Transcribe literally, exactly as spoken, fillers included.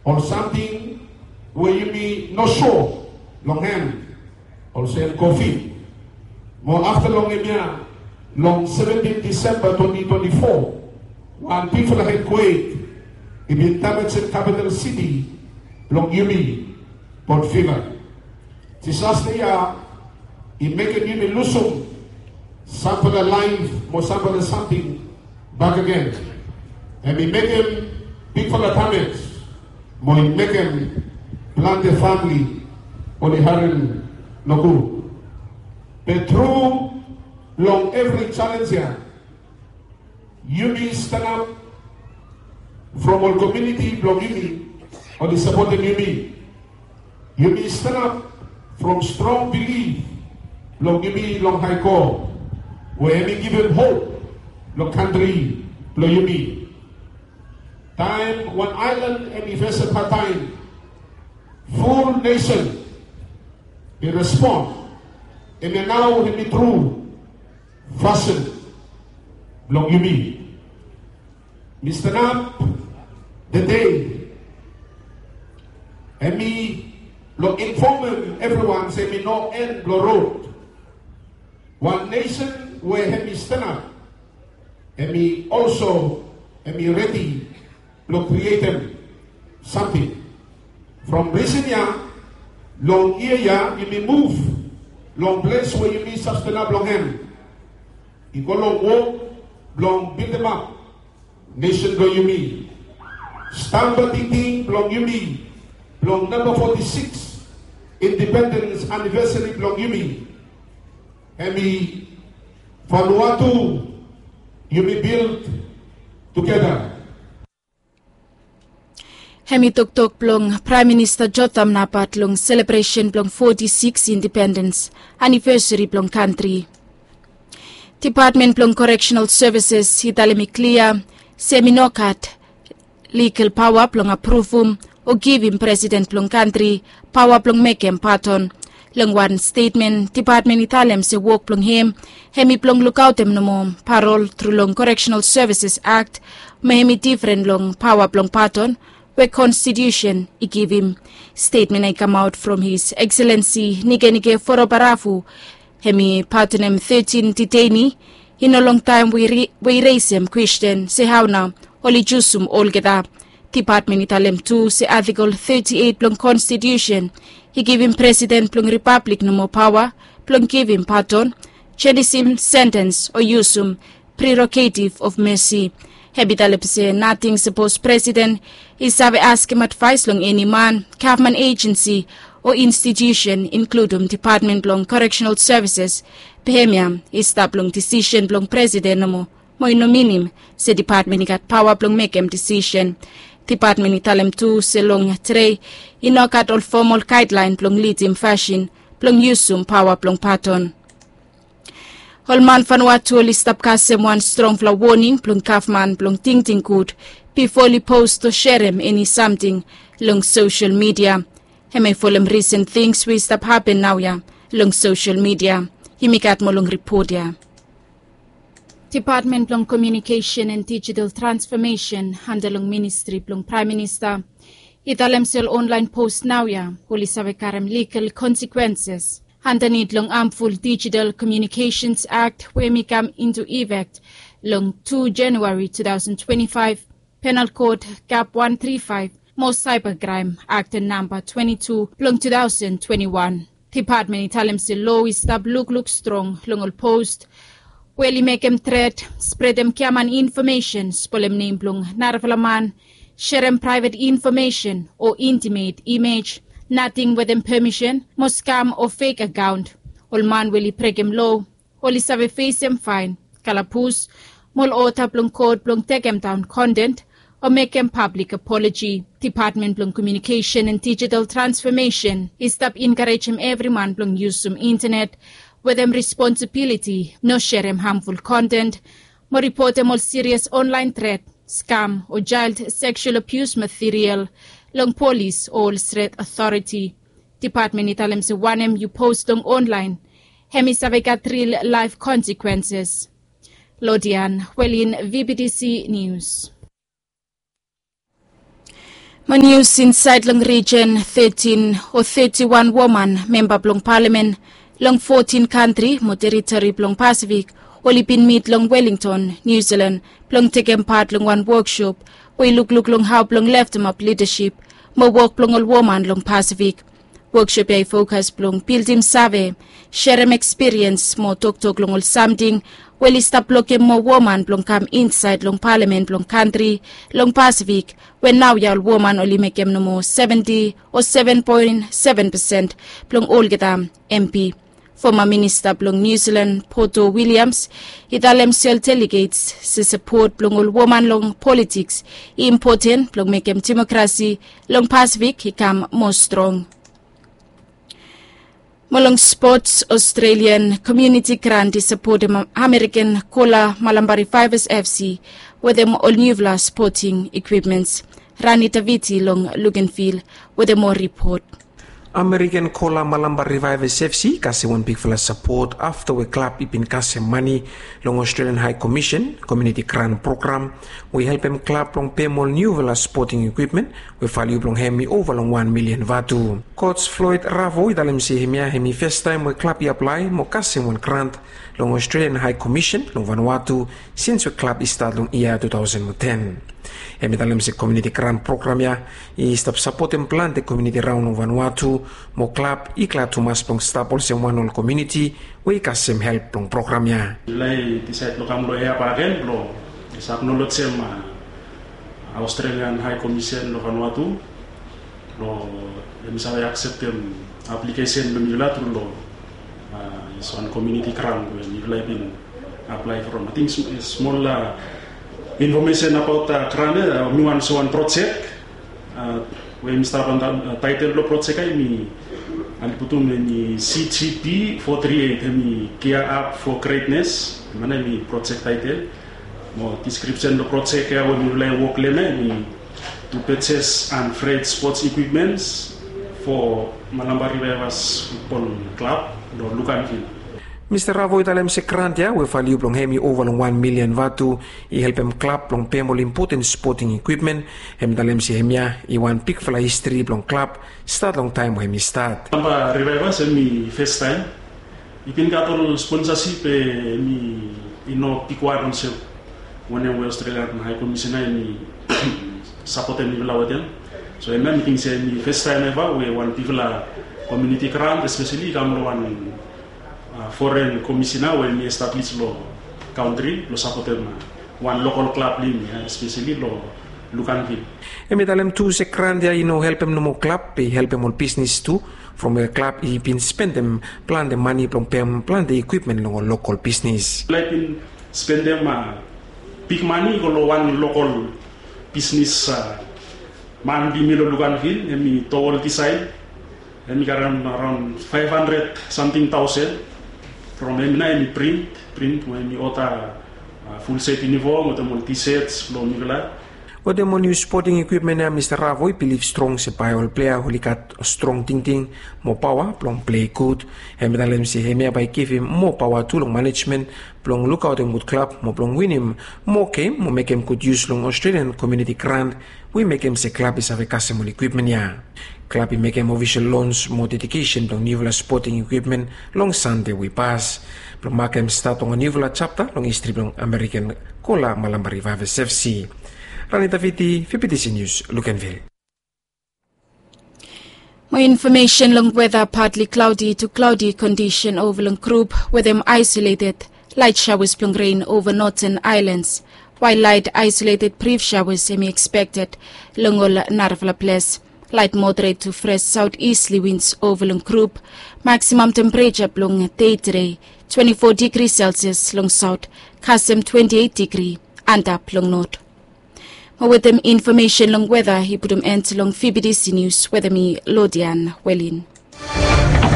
Ol samting we yumi no sua long hem, olsem Covid. Mo afta long hemia, long seventin Disemba twenti twenti fo, wan bigfala eatkwek i bin damejem kapital siti blong yumi, Port Vila. Disasta ya i mekem yumi lusum samfala laef mo samfala samting bakegen. Hem i mekem bigfala damej mo i mekem plante famle oli harem nogud. Be tru long evri jalenj ya, yumi stanap from ol komuniti blong yumi oli sapotem yumi. Yumi stanap from strong bilif blong yumi long Hae God, we hem i givim hop long kantri blong yumi. Taem wan aelan hem i fesem hadtaem, ful nesen i respon. Hemia nao hem i tru fasin blong yumi. Mi stanap tede, hem i blong infomem evriwan se hem i no en blong rod. Wan nesen we hem i stanap, hem i olso, hem i redi blong krietem samting. From risen ya, long yia ya yumi muv long ples we yumi save stanap long hem, i go long wok blong bildimap nesen blong yumi. Stamba tingting blong yumi blong namba foti sikis indipendens anivesari blong yumi, hem i Vanuatu yumi bild tugeta. Hem i toktok blong Praem Minista Jotham Napat long selebresen blong foti sikis indipendens anivesari blong kantri. Dipatmen blong Koreksenal Sevises i talem i klia se hem i no gat ligal paoa blong apruvum o givim presiden blong kantri paoa blong mekem padon. Long wan stetmen, dipatmen i talem se wok blong hem hem i blong lukaotem nomo parol tru long Koreksenal Sevises Akt, mo hem i difren long paoa blong padon we konstitiusen i givim. Stetmen ya i kamaot from His Ekselensi Nikenike Vurobaravu, hem i padonem tetin diteini. I no longtaem we i resem kwesten se hao nao oli jusum olgeta. Dipatmen i talem tu se Atikol teti eit blong Konstitiusen i givim presiden blong ripablik nomo paoa blong givim padon, jenisim sentens o yusum prerogative of mercy. Hem i talem se nating sapos presiden i save askem advaes long eni man, gavman ejensi o institiusen, inkludum dipatmen blong Koreksenal Sevises, be hemia i stap long disisen blong presiden nomo, mo i no minim se dipatmen i gat paoa blong mekem disisen. Dipatmen i talem tu se long tede i no gat ol fomol gaedlaen blong lidim fasin blong yusum paoa blong padon. Ol man Vanuatu oli stap kasem wan strongfala woning blong gavman blong tingting gud bifo oli post o serem eni samting long sosel midia. Hem i folem risen tings we i stap hapen naoia long sosel midia. Yumi gat moa long ripot ya. Dipatmen blong Komiunikesen and Dijital Transfomesen anda long ministri blong Praem Minista i talem se ol onlaen post naoia oli save karem ligal konsekwenses andanit long Harmful Digital Communications Act we hem i kam into effect long tu Januari tu taosen twenti faef, Penal Code, Gap wan tri faef, mo Cybercrime Act namba twenti tu blong tu taosen twenti wan. Dipatmen i talem se loa i stap lukluk strong long ol post we oli mekem tret, spredem giaman infomesen, spolem nem blong narafala man, serem praevet infomesen o intimet imej, nating wetem pemisen, mo skam o fek akaon. Ol man we oli brekem loa oli save fesem faen, kalabus, mo ol oda blong kot blong tekemdaon konten o mekem pablik apoloji. Dipatmen blong Komiunikesen and Dijital Transfomesen i stap enkarejem evri man blong yusum intenet wetem responsibiliti, no serem hamful konten, mo ripotem ol sirias onlaen tret, skam o jael seksual abius material long polis o ol stret otoriti. Dipatmen i talem se wanem yu post long onlaen, hem i save gat ril laef konsekwenses. Lodian Welin, V B T C News. Mo nius insaed long rijen tetin o teti wan woman memba blong palamen long fotin kantri mo teritori blong Pasifik oli bin mit long Wellington, Niu Silan blong tekem pat long wan woksop we i lukluk long hao blong leftemap lidasip mo wok blong ol woman long Pasifik. Woksop ya i fokas blong bildim save, serem ekspiriens mo toktok long ol samting we oli stap blokem moa woman blong kam insaed long palamen blong kantri long Pasifik, we naoia ol woman oli mekem nomo seventi o seven poen seven pesen blong olgeta M P. Foma minista blong Niu Silan Poto Wiliams i talem se ol delegets se sapot blong ol woman long politiks i impoten blong mekem demokrasi long Pasifik i kam moa strong. Mo long spots, Australian Community Grant i sapotem American Kola Malambar Revivers F C wetem ol niufala sporting equipments. Rani Taviti long Luganville wetem moa ripot. American Kola Malambar Revivers F C i kasem wan bigfala sapot afta we klab i bin kasem mane long Australian High Commission Community Grant Program we i helpem klab blong pem ol niufala sporting equipment we valiu blong hem i ova long wan milian vatu. Coach Floyd Ravo i talem se hemia hem i fastaem we klab i aplae mo kasem wan grant long Australian High Commission long Vanuatu sins we klab i stat long yia tu taosen mo ten. Hem i talem se komuniti grant program ya i stap sapotem plante komuniti raon long Vanuatu, mo klab i glad tumas blong stap olsem wan ol komuniti we i kasem help blong program ya. Lae disaed blong kam long hea bagen blong aknolejim Australian High Commission long Vanuatu, long hem i save akseptem aplikesen blong mifala tru long wan komuniti grant we mifala i bin aplae from. Ating smol infomesen abaot grant ya, mi wan olsem wan projek we mi stap antap taetel blong projek ya hem i, oli putum hem i C G P four three eight, hem i Gear Up for Greatness, hem i projek taetel. Mo diskripsen blong projek ya we mifala i wok long hem ya hem i to purchase and freight sports equipments for Malambar Revivers Football Club long Luganville. Mista Ravo i talem se grant ya we valiu blong hem i ova long wan milian vatu i helpem klab blong pem ol impoten spoting ekwipmen. Hem i talem se hemia i wan bigfala histri blong klab stat long taem we hem i stat. Malambar Revivers hem i fastaem i bin gat ol sponsasip we hem i no bigwan olsem wanem we Australian High Commissioner hem i sapotem mifala wetem. So hemia mi ting se hem i fastaem eva we wan bigfala komuniti grant espeseli i kam long wan foren komisina we hem i establis long kantri blong sapotem wan lokol klab blong hem ya espeseli long Luganville. Hem i talem tu se grant ya i no helpem nomo klab, be i helpem ol bisnis tu, from we klab i bin spendem plante mane blong pem plante ekwipmen long ol lokol bisnis. Mifala i bin spendem big mane i go long wan lokol bisnis man blong yumi long Luganville, hem i Towel Design. Hem i karem araon faef handred samting taosen from hem. Nao hem i print, print we hem i oda ful set yunifom wetem ol T-shirts blong mifala. Wetem ol niu spoting ekwipmen ya Mista Ravo i bilif strong se bae ol plea oli gat strong tingting mo paoa blong plei gud. Hem i talem se hemia bae i givim moa paoa tu long manejmen blong lukaotem gud klab mo blong winim moa gem mo mekem gud yus long Australian komuniti grant we i mekem se klab i save kasem ol ekwipmen ya. Klab i mekem ofisol lons mo dedikesen blong niufala spoting ekwipmen long Sande we i pas blong makem stat long wan niufala japta long histri blong American Kola Malambar Revivers F C. Rani Taviti, V B T C News, Luganville. Mo infomesen long weta, partly cloudy to cloudy kondisen ova long grup wetem isolated light showers blong rain ova Northern Islands, while light isolated brief showers hem i expected long ol narafala ples. Light moderate to fresh southeasterly winds ova long grup. Maximum temperature blong dei tede twenty-four degree Celsius long south, kasem twenty-eight degree antap long north. Mo wetem infomesen long weta i putum end long V B T C News wetem mi Lodian Welin.